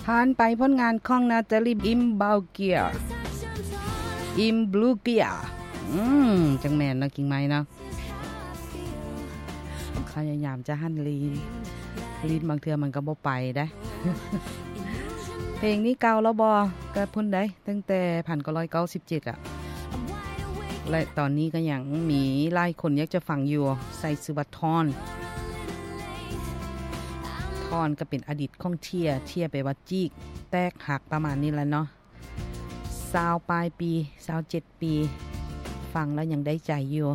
ຜ່ານໄປຜົນງານຂອງນາຕາລີ ອິມບາວເກຍ ອິມບລູເກຍ ອືມ ຈັ່ງແມ່ນເນາະ ກິ່ງໄມ້ເນາະ. ພະຍາຍາມຈະຫັນລີນ ລີນບາງເທື່ອມັນກໍບໍ່ໄປໄດ໋. ເພງນີ້ເກົ່າແລ້ວບໍ່? ກໍພຸ້ນໄດ໋ ຕັ້ງແຕ່ພັນເກົ້າຮ້ອຍເກົ້າສິບເຈັດອະ ແລະ ຕອນນີ້ກໍຍັງມີຫຼາຍຄົນຢາກຈະຟັງຢູ່ ໃສ່ຊື່ວ່າທອນ ທອນກໍເປັນອະດີດຂອງເທຍ ເທຍແປວ່າຈີກ ແຕກຫັກ ປະມານນີ້ແຫຼະເນາະ. ຊາວປາຍປີ ຊາວເຈັດປີ ຟັງແລ້ວຍັງໄດ້ໃຈຢູ່.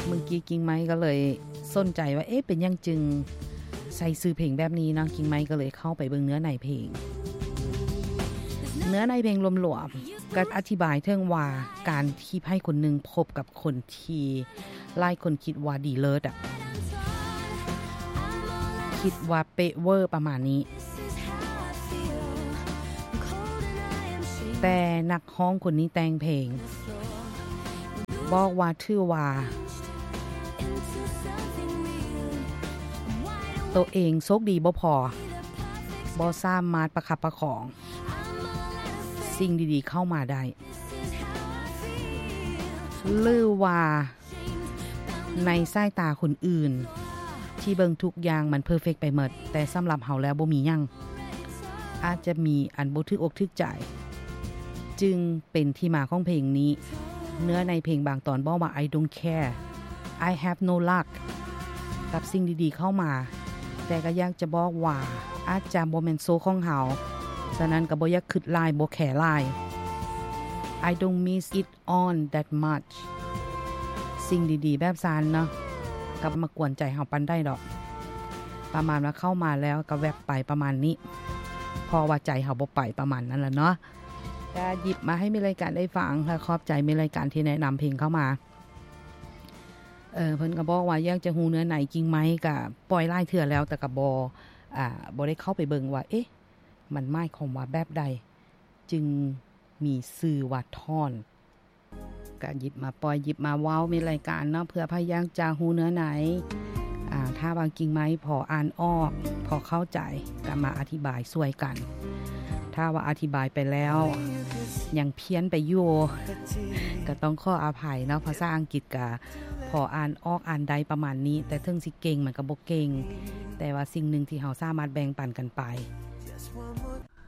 ເມື່ອກີ້ກິ່ງໄມ້ກໍເລີຍສົນໃຈວ່າ ເອະ ເປັນຫຍັງຈຶ່ງໃສ່ຊື່ເພງແບບນີ້ເນາະ? ກິ່ງໄມ້ກໍເລີຍເຂົ້າໄປເບິ່ງເນື້ອໃນເພງ. ເນື້ອໃນເພງລວມໆ ກໍອະທິບາຍເຖິງວ່າ ການທີ່ໃຜຄົນໜຶ່ງພົບກັບຄົນທີ່ຫຼາຍຄົນຄິດວ່າດີເລີດອະ ຄິດວ່າເປະເວີປະມານນີ້ ແຕ່ນັກຮ້ອງຄົນນີ້ແຕ່ງເພງ ບອກວ່າ ຖືວ່າໂຕເອງໂຊກດີບໍ່ພໍ ບໍ່ສາມາດປະຄັບປະຄອງສິ່ງດີໆເຂົ້າມາໄດ້ ຫຼືວ່າ ໃນສາຍຕາຄົນອື່ນທີ່ເບິ່ງທຸກຢ່າງມັນເພີເຟັກໄປໝົດ ແຕ່ສຳລັບເຮົາແລ້ວບໍ່ມີຫຍັງ ອາດຈະມີອັນບໍ່ຖືກອົກຖືກໃຈ ຈຶ່ງເປັນທີ່ມາຂອງເພງນີ້. ເນື້ອໃນເພງບາງຕອນບອກວ່າ I don't care, I have no luck ກັບສິ່ງດີໆເຂົ້າມາ ແຕ່ກໍຢາກຈະບອກວ່າ ອາດຈະບໍ່ແມ່ນໂຊກຂອງເຮົາ ສະນັ້ນກໍບໍ່ຢາກຄຶດຫຼາຍ ບໍ່ແຄຫຼາຍ I don't miss it on that much ສິ່ງດີໆແບບຊັ້ນເນາະ ກໍບໍ່ມາກວນໃຈເຮົາປານໃດດອກ ປະມານວ່າເຂົ້າມາແລ້ວກໍແວັບໄປປະມານນີ້ ເພາະວ່າໃຈເຮົາບໍ່ໄປ ປະມານນັ້ນລະເນາະ. ກໍຫຍິບມາໃຫ້ແມ່ນລາຍການໄດ້ຟັງ ແລະ ຂອບໃຈແມ່ນລາຍການທີ່ແນະນຳເພງເຂົ້າມາ. ເອີ ເພິ່ນກໍບອກວ່າຢາກຈະຮູ້ເນື້ອໃນກິ່ງໄມ້ ກໍປ່ອຍຫຼາຍເທື່ອແລ້ວ ແຕ່ກໍບໍ່ ອາ ບໍ່ໄດ້ເຂົ້າໄປເບິ່ງວ່າ ເອະ ມັນໝາຍຄວາມວ່າແບບໃດ ຈຶ່ງມີຊື່ວ່າທອນ. ກະຫຍິບມາປ່ອຍ ຫຍິບມາເວົ້າ ມີລາຍການເນາະ ເພື່ອໃຜຢາກຈະຮູ້ເນື້ອໃນ. ອາ ຖ້າວ່າກິ່ງໄມ້ພໍອ່ານອອກ ພໍເຂົ້າໃຈ ກະມາອະທິບາຍຊ່ວຍກັນ. ຖ້າວ່າອະທິບາຍໄປແລ້ວ ຍັງພຽນໄປຢູ່ ກະຕ້ອງຂໍອະໄພເນາະ. ພາສາອັງກິດກະພໍອ່ານອອກອ່ານໄດ້ປະມານນີ້ ແຕ່ເຖິງຊິເກັ່ງມັນກະບໍ່ເກັ່ງ. ແຕ່ວ່າສິ່ງໜຶ່ງທີ່ເຮົາສາມາດແບ່ງປັນກັນໄປ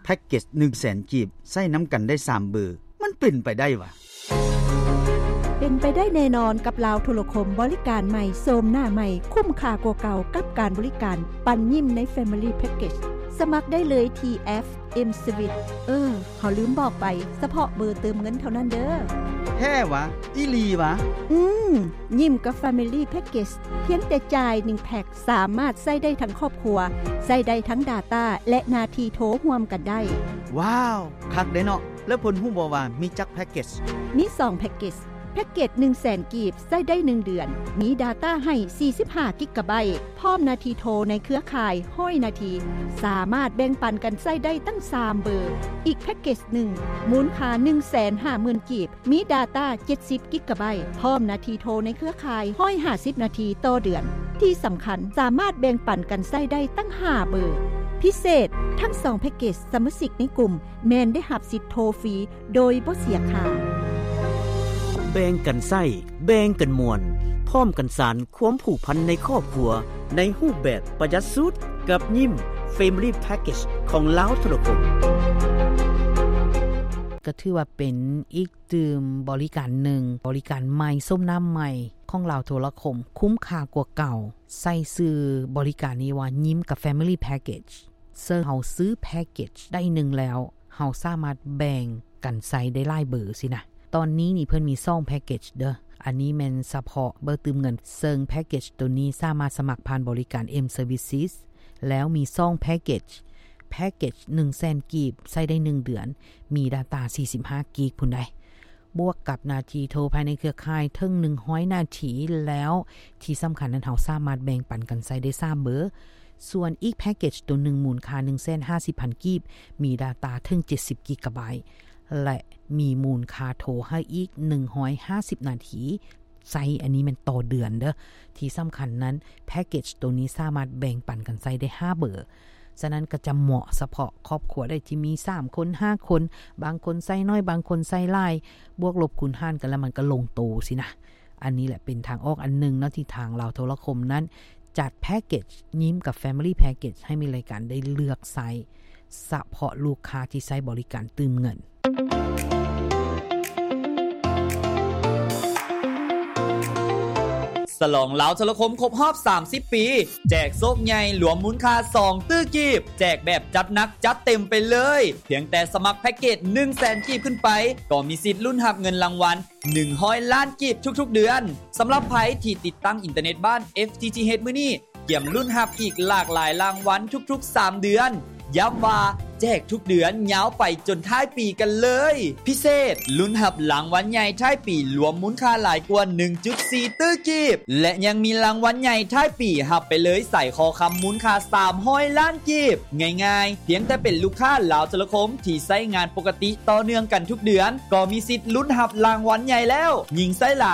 ແພັກເກັດໜຶ່ງແສນກີບ ໃຊ້ນຳກັນໄດ້ສາມເບີ ມັນເປັນໄປໄດ້ຫວາ? ເປັນໄປໄດ້ແນ່ນອນກັບລາວໂທລະຄົມ ບໍລິການໃໝ່ ໂສມໜ້າໃໝ່ ຄຸ້ມຄ່າກວ່າເກົ່າກັບການບໍລິການປັນຍິ້ມໃນ Family Package ສະໝັກໄດ້ເລີຍທີ່ແອັບ M Swiss. ເອີ ເຮົາລືມບອກໄປ ສະເພາະເບີເຕີມເງິນເທົ່ານັ້ນເດີ. ແທ້ຫວາ? ອີ່ຫຼີຫວາ? ອືມ ຍິ້ມກັບ Family Package ພຽງແຕ່ຈ່າຍໜຶ່ງແພັກ ສາມາດໃຊ້ໄດ້ທັງຄອບຄົວ, ໃຊ້ໄດ້ທັງ data ແລະ ໜ້າທີ່ໂທຮ່ວມກັນໄດ້. ວ້າວ ຄັກເດ້ເນາະ. ແລ້ວເພິ່ນຮູ້ບໍ່ວ່າມີຈັກແພັກເກັດ? ມີສອງແພັກເກັດ. ແພັກເກັດໜຶ່ງແສນກີບ ໃຊ້ໄດ້ໜຶ່ງເດືອນ, ມີ data ໃຫ້ສີ່ສິບຫ້າກິກກະໄບ, ພ້ອມໜ້າທີ່ໂທໃນເຄືອຂ່າຍຮ້ອຍນາທີ, ສາມາດແບ່ງປັນກັນໃຊ້ໄດ້ຕັ້ງສາມເບີ. ອີກແພັກເກັດໜຶ່ງ ມູນຄ່າໜຶ່ງແສນຫ້າໝື່ນກີບ, ມີ data ເຈັດສິບກິກກະໄບ ພ້ອມໜ້າທີ່ໂທໃນເຄືອຂ່າຍຮ້ອຍຫ້າສິບນາທີຕໍ່ເດືອນ. ທີ່ສຳຄັນ ສາມາດແບ່ງປັນກັນໃຊ້ໄດ້ຕັ້ງຫ້າເບີ. ພິເສດ, ທັງສອງແພັກເກັດສະມາຊິກໃນກຸ່ມແມ່ນໄດ້ຮັບສິດໂທຟຣີໂດຍບໍ່ເສຍຄ່າ. ແບ່ງກັນໃຊ້, ແບ່ງກັນມ່ວນ, ພ້ອມກັນສານຄວາມຜູກພັນໃນຄອບຄົວ ໃນຮູບແບບປະຢັດສຸດ ກັບຍິ້ມ Family Package ຂອງລາວໂທລະຄົມ. ກໍຖືວ່າເປັນອີກຕື່ມບໍລິການໜຶ່ງ, ບໍລິການໃໝ່, ໂສມໜ້າໃໝ່ຂອງລາວໂທລະຄົມ, ຄຸ້ມຄ່າກວ່າເກົ່າ. ໃສ່ຊື່ບໍລິການນີ້ວ່າ ຍິ້ມກັບ Family Package. ເຊິ່ງເຮົາຊື້ແພັກເກັດໄດ້ໜຶ່ງແລ້ວ, ເຮົາສາມາດແບ່ງກັນໃຊ້ໄດ້ຫຼາຍເບີຊີ້ນະ. ຕອນນີ້ນີ້ເພິ່ນມີສອງແພັກເກັດເດີ. ອັນນີ້ແມ່ນສະເພາະເບີຕື່ມເງິນ, ເຊິ່ງແພັກເກັດໂຕນີ້ສາມາດສະໝັກຜ່ານບໍລິການ M Services ແລ້ວມີສອງແພັກເກັດ. ແພັກເກັດໜຶ່ງແສນກີບ ໃຊ້ໄດ້ໜຶ່ງເດືອນ, ມີ data ສີ່ສິບຫ້າກິກພຸ້ນໃດ໋. ບວກກັບໜ້າທີ່ໂທພາຍໃນເຄືອຂ່າຍເຖິງໜຶ່ງຮ້ອຍນາທີແລ້ວ ທີ່ສຳຄັນນັ້ນເຮົາສາມາດແບ່ງປັນກັນໃຊ້ໄດ້ສາມເບີ. ສ່ວນອີກແພັກເກັດໂຕໜຶ່ງ ມູນຄ່າໜຶ່ງແສນຫ້າສິບພັນກີບ ມີ data ເຖິງເຈັດສິບກິກກະໄບ ແລະ ມີມູນຄ່າໂທໃຫ້ອີກໜຶ່ງຮ້ອຍຫ້າສິບນາທີໃຊ້. ອັນນີ້ແມ່ນຕໍ່ເດືອນເດີ. ທີ່ສຳຄັນນັ້ນ ແພັກເກັດໂຕນີ້ສາມາດແບ່ງປັນກັນໃຊ້ໄດ້ຫ້າເບີ. ສະນັ້ນກໍຈະເໝາະສະເພາະຄອບຄົວໄດ້ທີ່ມີສາມຄົນ ຫ້າຄົນ, ບາງຄົນໃຊ້ໜ້ອຍ ບາງຄົນໃຊ້ຫຼາຍ, ບວກລົບຄູນຫານກັນແລ້ວມັນກໍລົງໂຕຊີ້ນະ. ອັນນີ້ແຫຼະເປັນທາງອອກອັນໜຶ່ງເນາະ ທີ່ທາງລາວໂທລະຄົມນັ້ນຈັດແພັກເກັດຍິ້ມກັບ Family Package ໃຫ້ມີລາຍການໄດ້ເລືອກໃຊ້ ສະເພາະລູກຄ້າທີ່ໃຊ້ບໍລິການຕື່ມເງິນ. ສະຫຼອງລາວໂທລະຄົມຄົບຮອບສາມສິບປີ ແຈກໂຊກໃຫຍ່ລວມມູນຄ່າສອງຕື້ກີບ, ແຈກແບບຈັດໜັກຈັດເຕັມໄປເລີຍ. ພຽງແຕ່ສະໝັກແພັກເກດໜຶ່ງແສນກີບຂຶ້ນໄປ ກໍມີສິດລຸ້ນຮັບເງິນລາງວັນໜຶ່ງຮ້ອຍລ້ານກີບທຸກໆເດືອນ. ສຳລັບໃຜທີ່ຕິດຕັ້ງອິນເຕີເນັດບ້ານ FTTH ມື້ນີ້ ກຽມລຸ້ນຮັບອີກຫຼາກຫຼາຍລາງວັນທຸກໆສາມເດືອນ. ຢ້ຳວ່າແຈກທຸກເດືອນຍາວໄປຈົນທ້າຍປີກັນເລີຍ. ພິເສດ, ລຸ້ນຮັບລາງວັນໃຫຍ່ທ້າຍປີລວມມູນຄ່າຫຼາຍກວ່າໜຶ່ງຈຸດສີ່ຕື້ກີບ ແລະ ຍັງມີລາງວັນໃຫຍ່ທ້າຍປີຮັບໄປເລີຍສາຍຄໍຄຳມູນຄ່າສາມຮ້ອຍລ້ານກີບ. ງ່າຍໆ, ພຽງແຕ່ເປັນລູກຄ້າລາວໂທລະຄົມທີ່ໃຊ້ງານປົກກະຕິຕໍ່ເນື່ອງກັນທຸກເດືອນ ກໍມີສິດລຸ້ນຮັບລາງວັນໃຫຍ່ແລ້ວ. ຍິ່ງໃຊ້ຫຼາຍ